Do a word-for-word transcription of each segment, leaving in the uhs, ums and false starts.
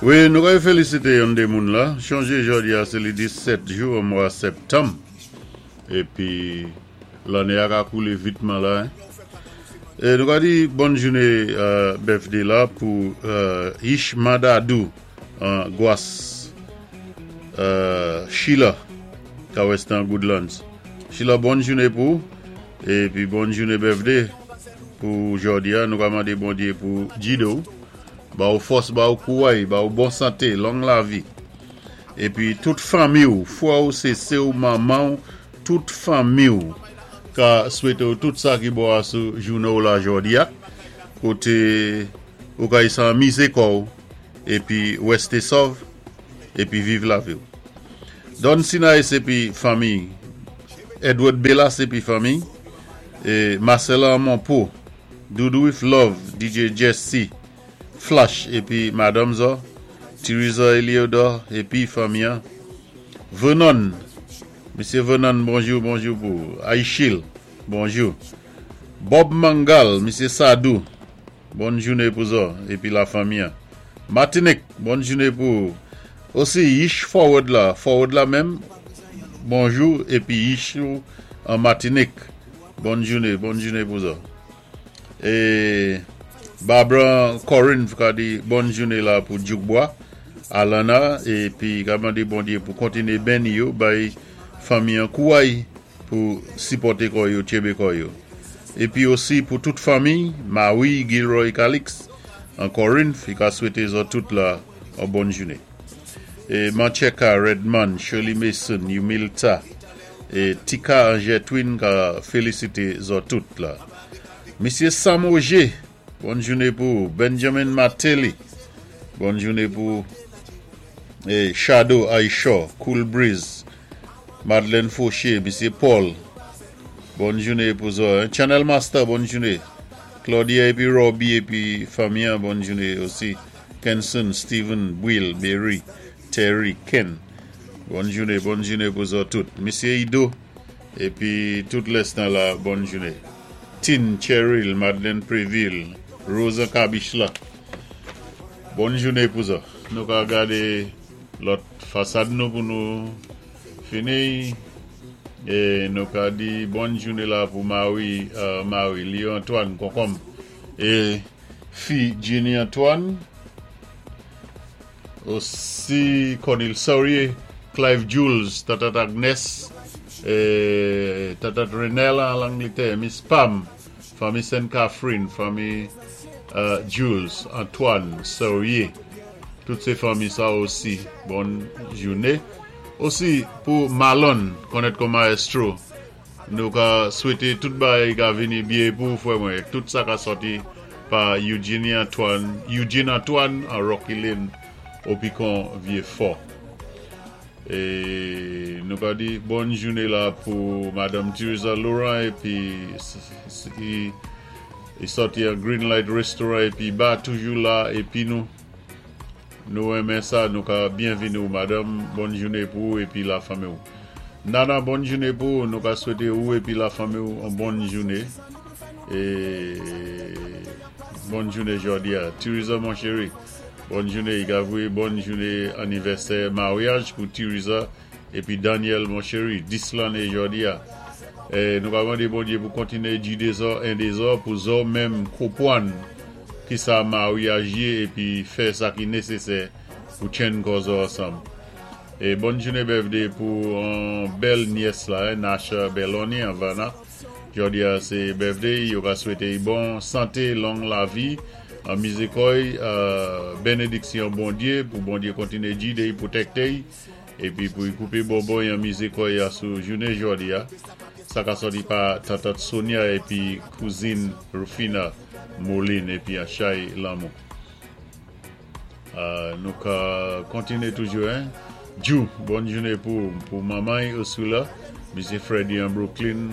Wi, nou ka félisité yon dé moun la. Chonjé jòdi-a, sé li disèt jou mwa septanm. Épi lanné a ka koulé vitman la. En. É nou ka di bòn jouné euh, birthday la pou euh, Ish Madadou an Gwas euh, Sheila ka Western Goodlands. Sheila, bòn jouné pou épi bòn jouné birthday pou jòdi-a. Nou ka mandé Bondyé pou jidé ou, ba ou fòs, ba ou kouway, ba ou bon santé, long lavi. Épi tout fanmi ou, fwè ou, sé sè ou, manman ou, tout fanmi ou ka swété ou tout sa ki bon sou jouné ou la jòdi-a. Koté ou ka anmizé kò ou, épi wèsté sòv épi viv lavi ou. Don Sinaï épi fanmi, Edward Bellas épi fanmi é Marcela Monpo, Doudou with Love, D J Jesse, Flash épi Madame Zo, Teresa Eliodor épi fanmi. Vernon, Misyé Vernon, bonjou, bonjou pou Aïchil, bonjou. Bob Mangal, Misyé Sadou, bòn jouné pou zo épi lafanmi. Martinique, bòn jouné pou osi Yish Forward la, Forward la menm, bonjou épi Yish an Martinique. Bòn jouné, bòn jouné pou zo. É Barbara Corinne ka di bòn jouné la pou Djoukbois, Alana épi ka mandé Bondyé pou kontiné béni yo, bay fanmi an kouway pou sipòté kò yo, tjenbé kò yo. Épi osi pou tout fanmi, Marie Gilroy Calix an Corinth, i ka swété zo tout la an bòn jouné. É Mancheka Redman, Shirley Mason, Humilta é Tika Angers Twin ka félisité zo tout la. Misyé Sam Auger, bòn jouné pou Benjamin Martelly. Bòn jouné pou é Shadow Aishaw, Cool Breeze, Madeleine Fauché, Misyé Paul. Bòn jouné pou zo. En. Channel Master, bòn jouné. Claudia épi Robbie épi fanmi, bòn jouné osi. Kenson, Steven, Will, Mary, Terry, Ken. Bòn jouné, bòn jouné pou zo tout. Misyé Ido épi tout lèstan la, bòn jouné. Tin, Cheryl, Madeleine Préville, Rosa Kabichla. Bòn jouné pou zo. Nou ka gadé lòt fasad nou pou nou fini. É nou ka di bòn jouné la pou Marie, euh, Marie, Léo Antoine, Konkonm. É fi Jenny Antoine. Osi Cornel Saurier, Clive Jules, Tata Agnes, é Tata Renella an Langlétè, Miss Pam, fanmi Sainte Catherine, fanmi euh, Jules, Antoine, Saurier. Tout sé fanmi sa osi, bòn jouné. Osi pou Malone, konnèt kòm maestro, nou ka swété tout bagay ka vini byen pou fwè mwen. Tout sa ka sòti pa Eugenie Antoine, Eugene Antoine an Rocky Lane, au Picon Vieux-Fort. É nou ka di bòn jouné la pou Madame Teresa Laurent épi i sòti an Green Light Restaurant épi ba toujou la épi nou nou renmen sa, nou ka byenvini madam, bòn jouné pou ou épi lafanmi. Nana, bòn jouné pou ou, nou ka swété ou épi lafanmi yon bòn jouné. É bòn jouné jòdi-a. Teresa mon chéri. Bòn jouné, Gavri, bòn jouné anivèsè maryaj pou Teresa épi Daniel mon chéri, dis lanné jòdi-a. É nou va mandé Bondyé pou kontiné jidé zo, édé zo, pou zo menm konpwann ki sa maryaj yé épi fè sa ki nésésè pou tjenn kò zo ansanm. É bòn jouné birthday pou yon bèl nyès la, en, Nasha Belloni an Vana. Jòdi-a sé birthday, yo ka swété bon santé, long lavi, anmizé kò y, euh, bénédiksyon Bondyé pou Bondyé kontiné jidé, pwotékté épi pou koupé bonbon é anmizé kò y sou jouné jòdi-a. Sa ka sòti pa Tata Sonia épi kouzin Rufina Moline épi Achay Lamou. Euh, nou ka kontiné toujou en. Jou, bòn jouné pou pou manman osi la, Misyé Freddy an Brooklyn,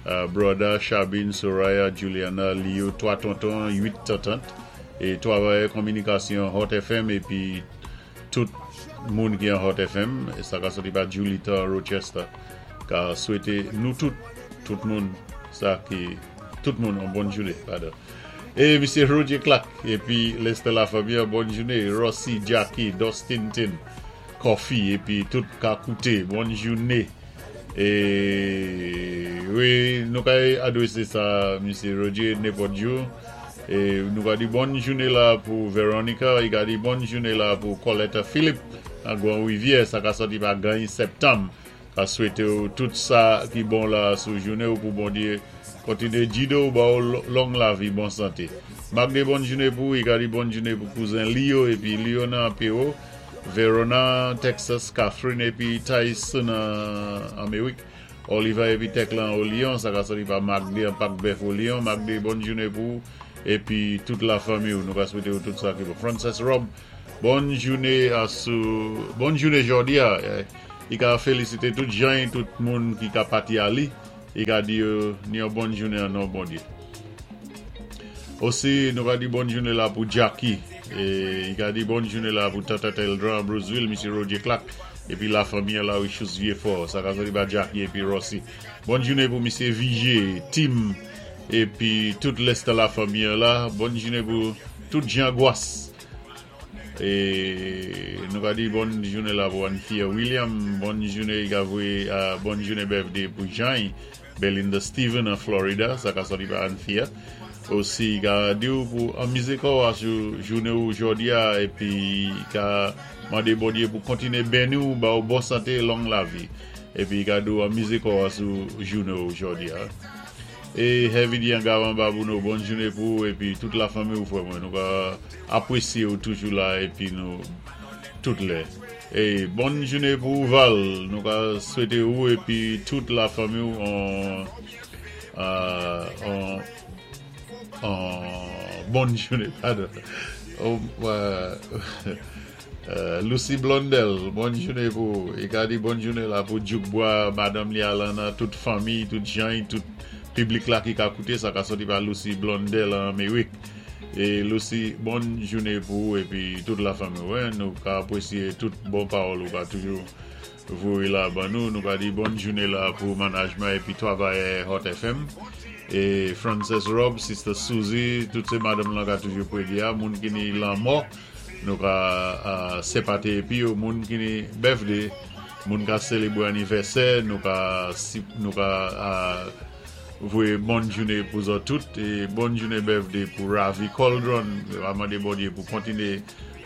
euh, Broda, Chabine, Soraya, Juliana, Leo, twa tonton, uit tantant é travayè kominikasyon Hot F M épi tout moun ki an Hot F M é sa ka sòti pa Julita Rochester ka swété nou tout tout moun sa ki tout moun yon bòn jouné, padon. É Misyé Roger Clark, épi Lester Lafamille, bòn jounen. Rossi, Jackie, Dustin Tin, Coffee, épi tout ka kouté, bòn jounen. É wi, nou kay adwésé sa, Misyé Roger, nenpòt jou. É nou ka di bòn jounen la pou Veronica, i ka di bòn jounen la pou Coletta Philippe, an Gwan Rivyè, sa ka sòti pa Gany Septanm. Ka swété ou tout sa ki bon la sou jounen ou pou Bondyé kontiné jidé ou ba ou long lavi, bon santé. Magde bòn jounen pou, i ka di bòn jounen pou kouzen Leo, épi Leo nan P O, Verona, Texas, Catherine épi Tyson an Amerik, Oliver épi Teklan au Lyon, sa ka sòti pa Magde an Pak Bèf au Lyon. Magde, bòn jounen pou, épi tout lafanmi ou, nou ka swété ou tout sa ki bon. Frances Rob, bòn jounen asou, bòn jounen jòdi a, i ka félisité tout jan, tout moun ki ka pati ali, i ka di yo ni yon bòn jounen an non Bondyé. Osi, nou ka di bòn jounen la pou Jackie, é i ka di bòn jounen la pou Tata Teldran, Bruceville, Misyé Roger Clark, épi lafanmi la Richus Vieux-Fort, sa ka sòti pa Jackie épi Rossi. Bòn jounen pou Misyé Vigé, Tim, épi tout Lester Lafamille la, bòn jounen pou tout Jean Guas. É nou ka di bòn jounen la pou Anthea William, bòn jounen i ka voyé, uh, bòn jounen birthday pou Jean, Belinda Steven an Florida, sa ka sòti pa Anthea. Osi, i ka di ou pou anmizé kò ou asou jounen ou jòdi a, épi i ka mandé Bondyé pou kontiné béni ou, ba ou bon santé, long lavi. Épi i ka di ou anmizé kò ou asou jounen ou jòdi a. É Heavy D an Gavan Babouno, bòn jounen pou ou, épi tout lafanmi ou frè mwen, nou ka apwésyé ou toujou la, épi nou tout lè. É bòn jounen pou Val, nou ka swété ou, épi tout lafanmi ou an, an, an bòn jounen, padon. Oh, euh, euh, Lucy Blondel, bòn jounen pou, i ka di bòn jounen la pou Djoukbois, Madame Li Alana, tout fanmi, tout jan, tout piblik la ki ka kouté, sa ka sòti pa Lucy Blondel an Amerik. É Lucy, bòn jounen pou épi tout lafanmi. Wè, nou ka apwésyé tout bon pawòl ou ka toujou voyé la ban nou. Nou ka di bòn jounen la pou management épi travayè Hot F M. É Frances Rob, Sister Suzy, tout sé madanm lan ka toujou prédi a, moun ki ni lanmò, nou ka uh, senpati épi yo, moun ki ni birthday, moun ka sélébwé anivèsè, nou ka si- nou ka uh, voyé bòn jounen pou zòt tout é bòn jounen birthday pou Ravi Coldron, a mandé Bondyé pou kontiné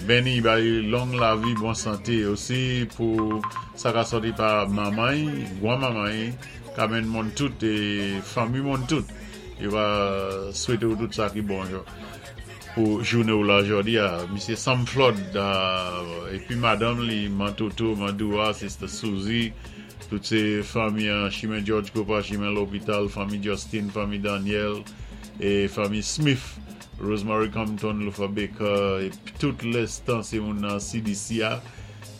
béni, ba li long lavi, bon santé osi pou sa ka sòti pa manman, gwan manman, kamen moun tout é fanmi moun tout. I va swété ou tout sa ki bon yo pou jounen ou la jòdi a. Misyé Sam Flood, uh, épi madanm li, Mantoto, Mandoua, Sister Suzy, tout sé fanmi an Chimen George Copa, Chimen L'Hôpital, fanmi Justin, fanmi Daniel, é fanmi Smith, Rosemary Compton, Lufa Baker, é tout lestan sé moun nan C D C a,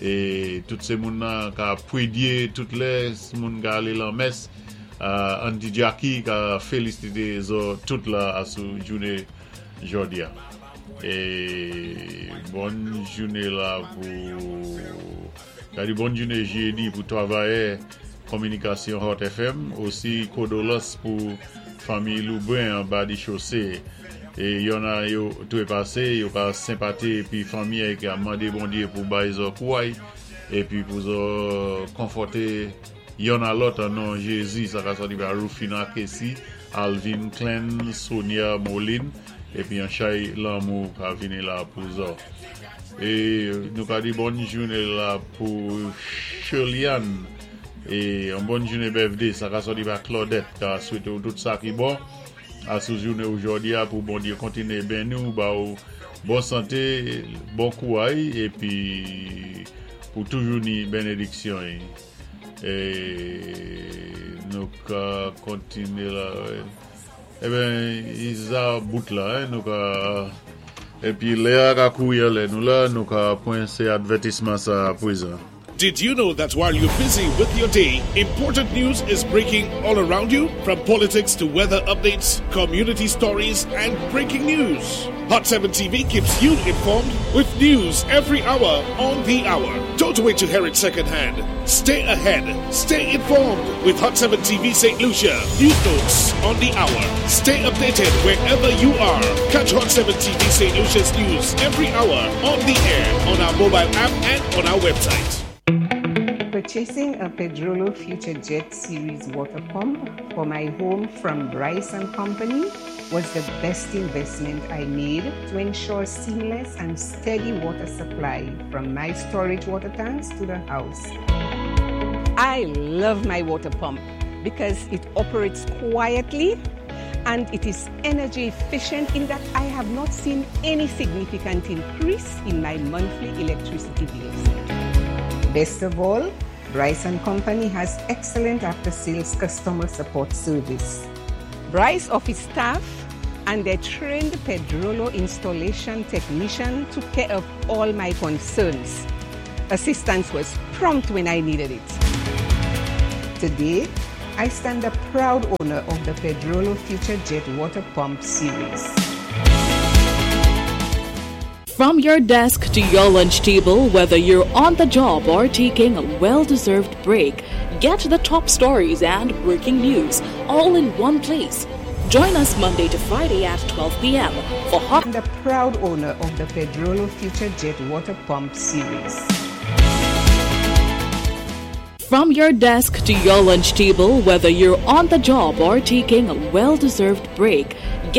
é tout sé moun nan ka pwédyé, tout lè moun ka alé lan mès, uh, Auntie Jackie ka félisité zo tout la asou jounen jòdi a. É bòn jounen la pou ka di bòn jounen jédi pou travayè kominikasyon Hot F M, osi kondóléyans pou fanmi Loubrun an ba di chosé. É yon a yo tou pasé, yo ka senpati épi fanmi ki a mandé Bondyé pou bay zo kouway épi pou zo konfòté yon a lòt an non Jézi, sa ka sòti pa Rufina Kessi, Alvin Klein, Sonia Moline, épi an chay lanmou ka vini la pou zo. É nou ka di bòn jounen la pou Shirley-Ann, é yon bòn jounen birthday, sa ka sòti pa Claudette, ka swété ou tout sa ki bon, asou jounen ou jòdi a pou Bondyé kontiné béni ou, ba ou bon santé, bon kouway, épi pou toujou ni bénédiksyon. É nou ka kontiné la. Eben, iza bout la, hein, nou ka. Épi lè a ka kouri lè nou la, nou ka pran sé advètisman sa pwézan. Did you know that while you're busy with your day, important news is breaking all around you? From politics to weather updates, community stories, and breaking news. Hot seven T V keeps you informed with news every hour on the hour. Don't wait to hear it secondhand. Stay ahead. Stay informed with Hot seven T V Saint Lucia. News notes on the hour. Stay updated wherever you are. Catch Hot seven T V Saint Lucia's news every hour on the air, on our mobile app, and on our website. Purchasing a Pedrollo Future Jet Series water pump for my home from Bryce and Company was the best investment I made to ensure seamless and steady water supply from my storage water tanks to the house. I love my water pump because it operates quietly and it is energy efficient in that I have not seen any significant increase in my monthly electricity bills. Best of all, Bryce and Company has excellent after-sales customer support service. Bryce office staff and their trained Pedrollo installation technician took care of all my concerns. Assistance was prompt when I needed it. Today, I stand a proud owner of the Pedrollo Future Jet Water Pump Series. From your desk to your lunch table, whether you're on the job or taking a well deserved break, get the top stories and breaking news all in one place. Join us Monday to Friday at twelve p m for Hot. I'm the proud owner of the Pedrollo Future Jet Water Pump Series. From your desk to your lunch table, whether you're on the job or taking a well deserved break, get